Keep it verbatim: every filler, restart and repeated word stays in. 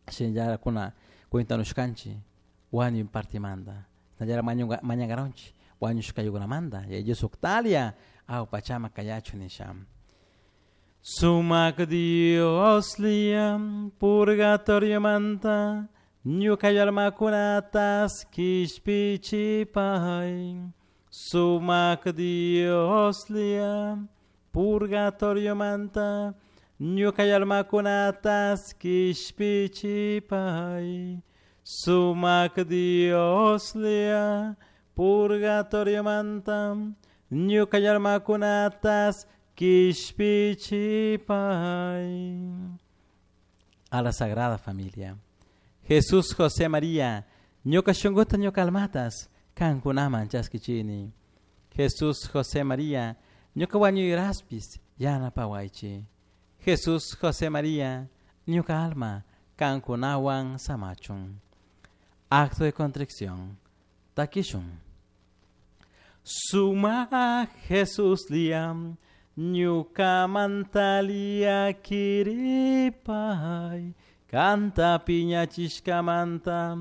Shinallara kuna cuentanushkanchik wañuy partimanta shinallara mañankaranchik wañushkaykunamanta Yaya Dios uktalia aw pachama kayachun nisha. Sumak Dios liam purgatorio manta ñuka almakunatas kishpichipay. Sumak Dios liam purgatorio manta ñuka almakunatas kishpichipay. Sumak Dios lia purgatorio manta ñuka almakunatas kishpichipay. A la Sagrada Familia. Jesús, José, María, ñuka shunkuta ñuka almatas kankunaman chaskichini. Jesús, José, María, ñuka wañuyraspis yanapawaychi. Jesús, José, María, ñuka alma kankunawan samachun. Acto de contrición. Takishun. Suma Jesús liam ñuka mantalia kiripay. Kanta piñachishkamanta